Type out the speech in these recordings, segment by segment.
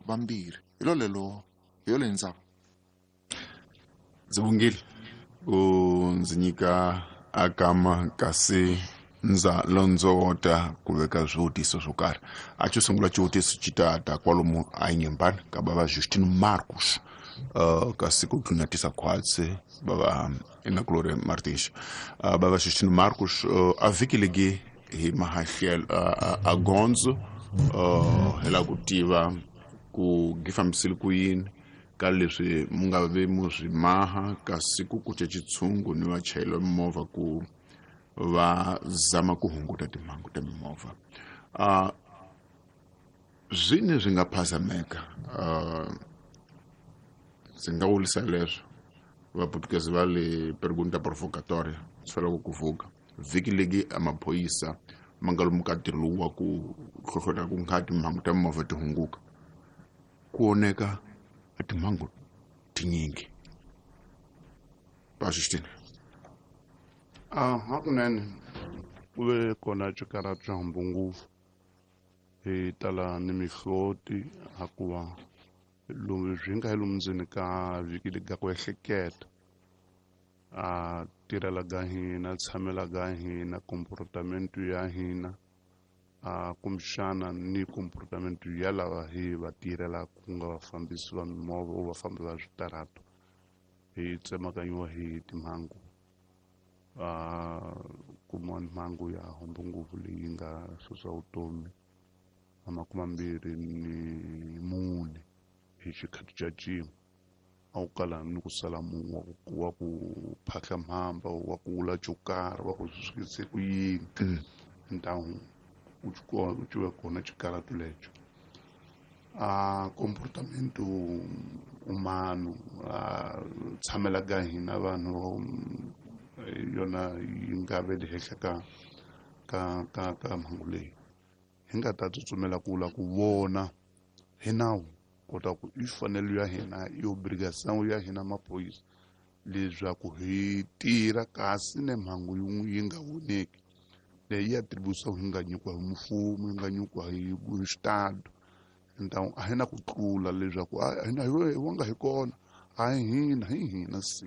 vambirhi. Hi lolelo hi yoleyo ndzaba. Ndzi vongile u ndzi nyika agama kasi ndza londzovota ku veka swivutiso swo karhi. A xo sungula xivutiso xi ta ta kwalomu a Inhambane ka bava Justino Marcos, kasi ku tlunatisa khwatsi bava Inakulore Martins. Bava Justino Marcos, a vhiki legi hi mahahlelo a gondzo, hi lava ku tiva ku gi fambisile ku yini ka leswi mu nga ve mu swi maha kasi ku kuce xitshungu ni vachayeri va mimovha ku va zama ku hunguta timhangu ta mimovha. Zwini swi nga phazameka, ndzi nga vurisa leswo vaputukezi va le pergunta provocatoria swi fanele ku vuka vhiki legi a maphorisa ma nga lomu ka ntirho lowu wa ku hlohlotela ku nga timhangu ta mimovha ti hunguka ku oneka a timhangu tinyingi va Justin. A hakunene ku ve kona xikarhati xa hambu ngopfu, hi tala ni mihloti hakuva lomu swi nga hi lomu ndzeni ka vhiki lega ku ehleketa a tirhela ka hina, tshamela ka hina, comportamento ya hina, a kumbexana ni comportamento ya lava hi va tirhelaka ku nga vafambisi va mimovha o vafambi va switarato, hi tsemakanyiwa hi timhangu. A kumiwa mhangu ya hombo ngopfu leyi nga susa vutomi a 24 hi xikhathi xa cin'we. A wu kala ni ku sala munhu wa ku phahla mhamba, wa ku vula xo karhi, wa ku swi sukise ku yini. Ntamu u ciwe kona xikarhati lexo. A comportamento humano, a tshamela ka hina vanhu yona yi nga ve le henhla ka mhangu leyi. Hi nga ta tsutsumela ku la ku vona hi nawu kota ku i fanelo ya hina, i obrigação ya hina maphorisa leswaku hi tirha kasi ne mhangu yin'we yi nga voneki leyi ya atribuição yi nga nyikiwa hi mfumo, yi nga nyikiwa hi xitado. Então a hi na ku tlula leswaku a hina hi wanga hi kona, a hi hina, hi hina si.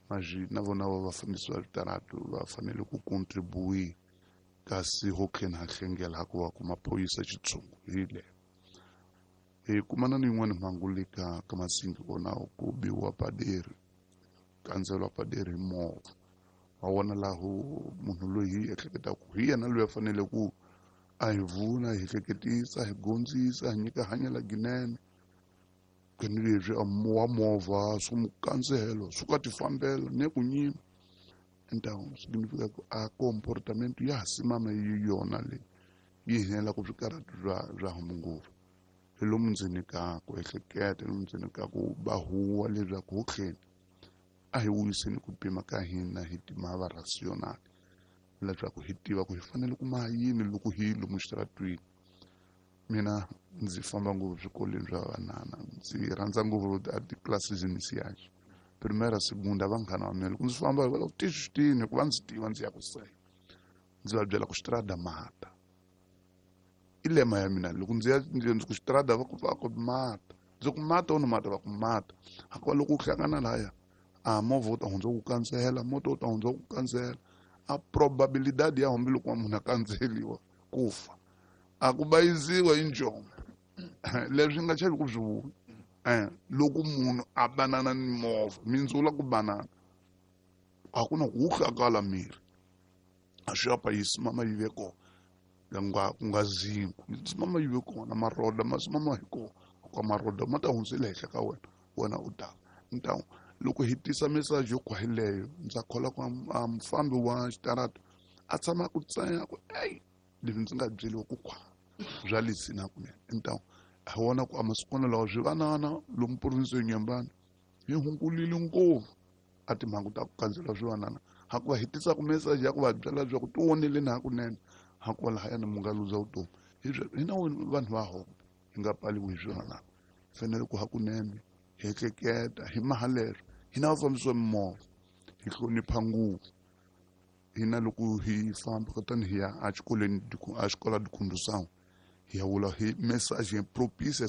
Mas na vona va vafambisi va switarato va fanele ku contribuir kasi ho tlhela ha hlengela ha ku va ku maphorisa xitshungu hi le. Hi kumana ni yin'wana mhangu le ka Masingi kona ku biwa paderi, kandzeriwa paderi hi movha. Wa vona laha munhu loyi hi ehleketaka ku hi yena loyi a fanele ku a hi vuna, hi hleketisa, hi gondzisa, hi nyika hanyela ginene. Kani leswi a wa movha swi n'wi kandzelo, swi ka ti fambela ne ku nyima. Então significa ku a comportamento ya ha simama yi yona leyi yi hela ku swikarhati swa hambu ngopfu. Hi lomu ndzeni ka ku ehleketa, hi lomu ndzeni ka ku ba huwa leswaku ho tlhela a hi vuyiseni ku pima ka hina hi timhaka rational leswaku hi tiva ku hi fanele ku maha yini loko hi lomu xitaratwini. Mina ndzi famba ngopfu swikolweni swa vanana, ndzi rhandza ngopfu a ti-classes iniciais, primera, segunda, vanghana va mina loko ndzi famba va la ku tixitini hikuva ndzi tiva ndzi ya ku sela, ndzi va byela ku xitarata mata i lema ya mina. Loko ndzi ya ndzi ku xitarata va ku va ku mata, ndzi ku mata u ni mata va ku mata. Hikuva loko u hlangana laya a movha wu ta hundza ku kandzela, moto wu ta hundza ku kandzela, a probabilidade ya hambi loko munhu a kandzeliwa ku fa a ku bayiziwa hi njhomo. Leswi nga chavi ku swi vula. Loko munhu a banana ni movha, mindzula ku banana a ku na ku wu hlakala miri, a swi apa yi simama yi ve kona, ku nga zinku yi simama yi ve kona, maroda ma simama hi kona, ka maroda ma ta hundzela henhla ka wena, wena u ta. Então loko hi tisa message yo khwahileyo, ndza kholwa ku a mufambi wa xitarato a tshama ku tsaya ku ey leswi ndzi nga byeliwa ku khwa bya lesina kunene. Então hi vona ku a masikwana lawa swi vanana lomu province ya Inhambane hi hungulile ngopfu a timhangu ta ku kandzela swivanana, hakuva hi tisaka message ya ku va byela leswaku ti voneleni hakunene, hakuva lahayani mu nga luza vutomi. Hi hina vanhu va Hombe hi nga pfaliwi hi swivanana, hi fanele ku hakunene hi ehleketa hi maha leswo. Hina vafambisi va mimovha hi hlonipha ngopfu. Hina loko hi famba kutani hi ya exikolweni, a xikola de condução, hi ya vula hi message propícia.